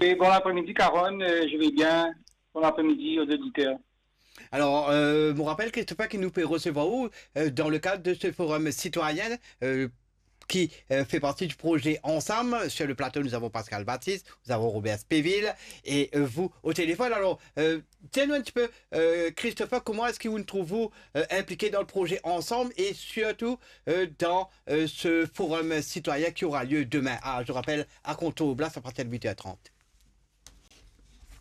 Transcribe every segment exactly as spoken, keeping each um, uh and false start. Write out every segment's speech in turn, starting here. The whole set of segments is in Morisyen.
Et bon après-midi, Caron, euh, je vais bien. Bon après-midi aux auditeurs. Alors, euh, mo rapel, Christopher, ki nou pe resevwar ou, euh, dans le cadre de ce forum citoyen, euh, qui, euh, fait partie du projet Ensemble. Sur le plateau, nous avons Pascal Baptiste, nous avons Robert Spéville et, euh, vous au téléphone. Alors, euh, dis-nous un petit peu, euh, Christopher, comment est-ce que vous nous trouvez, euh, impliqués dans le projet Ensemble et surtout, euh, dans, euh, ce forum citoyen qui aura lieu demain, à, je rappelle, à Contour Blas à partir de huit heures trente.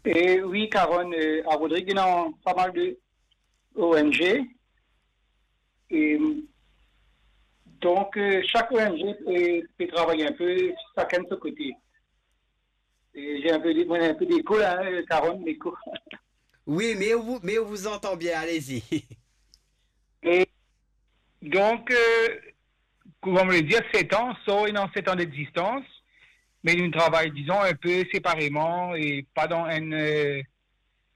Et oui, Caron, euh, à Rodrigues, il y a pas mal de O N G. Et donc, euh, chaque O N G peut, peut travailler un peu, chacun de son côté. Et j'ai un peu, de- moi, j'ai un peu d'écho là, hein, Caron, l'écho. Oui, mais on vous, mais on vous entend bien, allez-y. Et donc, euh, comme on le dit, sept ans, ça, il y a sept ans d'existence, mais nous travaillons, disons, un peu séparément et pas dans un, euh,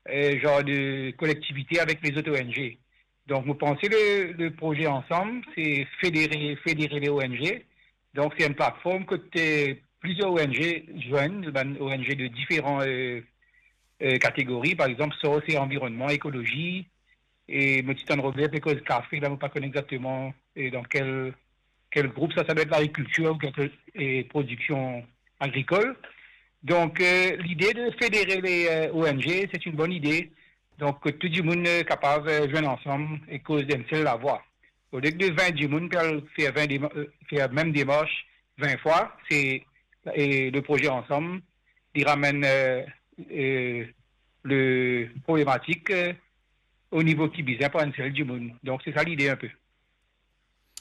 euh, genre de collectivité avec les autres O N G. Donc, vous pensez le, le projet Ensemble, c'est fédérer, fédérer les O N G. Donc, c'est une plateforme que t'es plusieurs O N G joignent, ben, O N G de différents, euh, euh, catégories. Par exemple, ça, c'est environnement, écologie. Et mo ti tann Robert pe koz kafe, la, mo pa kone exactement, euh, dans quel, quel groupe ça, ça doit être l'agriculture ou quelque, et production agricole. Donc, euh, l'idée de fédérer les, euh, O N G, c'est une bonne idée. Donc, que tout le monde, euh, capable, euh, joindre ensemble et cause d'une seule la voix. Au lieu de vingt dimoun pou al fer vingt déma-, euh, fer mem demars vin fwa, se, e le projet Ensemble, li ramenn, euh, euh, le problematik, euh, o nivo ki bizin par enn sel dimoun. Donk, se sa lide inpe.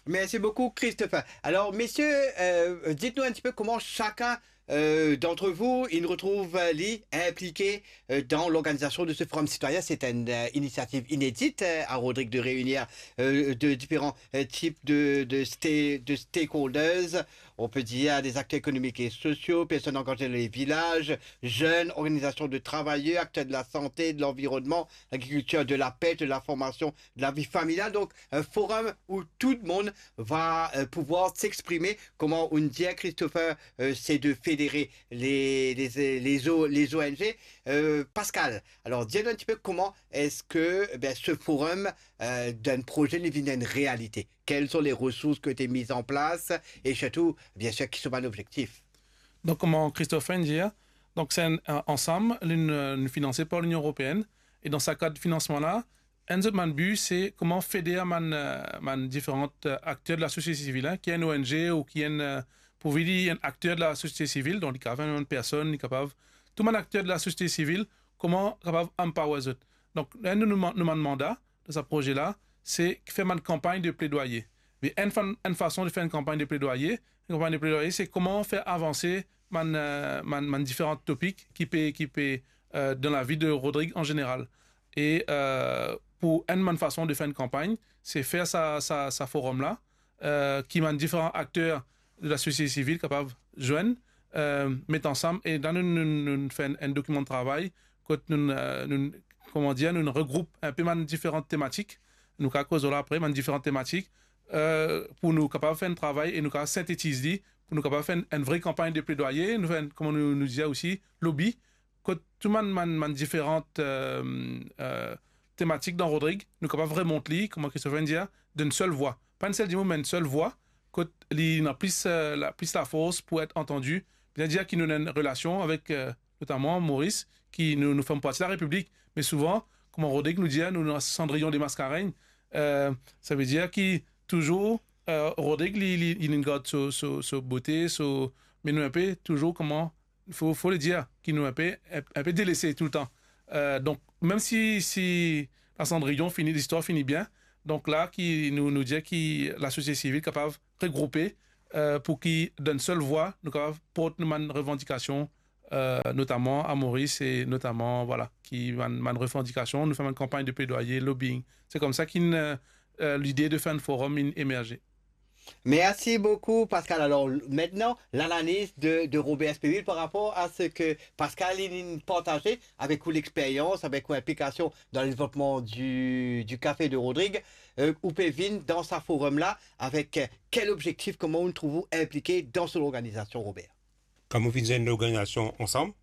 Merci beaucoup, Christopher. Alors, messieurs, euh, dites-nous un petit peu comment chacun, euh, d'entre vous, il retrouve, euh, li impliqué, euh, dans l'organisation de ce forum citoyen. C'est une, euh, initiative inédite, euh, à Rodrigues de réunir, euh, de différents, euh, types de, de sta-, de stakeholders. On peut dire des acteurs économiques et sociaux, personnes engagées dans les villages, jeunes, organisations de travailleurs, acteurs de la santé, de l'environnement, l'agriculture, de la pêche, de la formation, de la vie familiale. Donc, un forum où tout le monde va, euh, pouvoir s'exprimer. Kouma ou dir, Christopher, euh, c'est de fédérer les, les, les O-, les O N G. Euh, Pascal, alors, dis-nous un petit peu comment est-ce que, eh bien, ce forum, euh, d'un projet li vinn une réalité. Quelles sont les ressources qui ont été mises en place et surtout, bien sûr, ki so bann objektif? Donk, kouma Christopher dir, donk, se enn, euh, ansam, li, euh, li finanse par Linion Eropeenn. E dan sa kad finansman la, enn zot bann bi, se kouma feder bann, euh, bann diferan, euh, akter de lasosiete sivil, hein, ki enn O N G ou ki enn, euh, pourvi li enn akter de lasosiete sivil, donk li kapav enn personn, li kapav, tou bann akter de lasosiete sivil, kouma kapav empower zot. Donk, enn nou, nou, nou bann manda, dan sa proze la, se fer bann kanpagn de pledwaye. Me enn fa-, enn fason de fer enn kanpagn de pledwaye, enn kanpagn de pledwaye, se kouma fer avanse bann, euh, bann, bann diferan topik ki pe, ki pe, euh, dan lavi de Rodrig an zeneral. E, euh, pou enn bann fason de fer enn kanpagn, se fer sa, sa, sa forum la, euh, ki bann diferan akter de lasosiete sivil kapav zwenn, euh, met ansam, e la nou, nou, nou fer enn, enn dokiman de travay, kot nou, euh, nou, kouma dir, nou regroup inpe bann diferan tematik, nou kapav koz la apre, bann diferan tematik, euh, pou nou kapav fer enn travay e nou kapav sintetiz li, pou nou kapav fer enn, enn vre kanpagn de pledwaye, nou fer enn, kouma nou, nou dir osi, lobby, kot tou bann, bann, bann diferan, euh, euh, tematik dan Rodrig, nou kapav remont li, kouma Christopher dir, d'une seule voix. Pa enn sel dimoun, me enn sel vwa, kot li ena plis, euh, la, plis lafors pou et antandi. Bizin dir ki nou ena enn relasion avek, euh, notaman Moris, ki nou, nou fer parti larepiblik, me souvan, kouma Rodrig nou dir, nou ena Cendrillon des Mascareignes, euh, savedir ki touzour, euh, Rodrig, li, li, li inn gard so, so, so bote, so, me nou inpe touzour kouma fo, fo le dir, ki nou inpe, inpe delese toultan. Euh, donk, mem si, si Lasandriyon fini, listwar fini bien, donk la ki nou, nou dir ki lasosiete sivil kapav regroupe, euh, pou ki dan enn sel vwa, nou kapav port nou bann revandikasion, euh, notaman a Moris e notaman, vwala, ki bann, bann revandikasion, nou fer bann kanpagn de pledwaye, lobbying. Se koumsa ki, euh, euh, lide de fer enn forum inn emerze. Merci beaucoup, Pascal. Alors, l-, maintenant, l'analyse de, de Robert Espéville par rapport à ce que Pascal, il, il partageait avec ou l'expérience, avec ou implication dans le développement du, du café de Rodrigue. Euh, ou pe vinn dan sa forum la, avec, euh, quel objectif, kouma ou trouv ou impliqué dans son organisation, Robert? Kan mo vinn zwenn lorganizasion Ansam,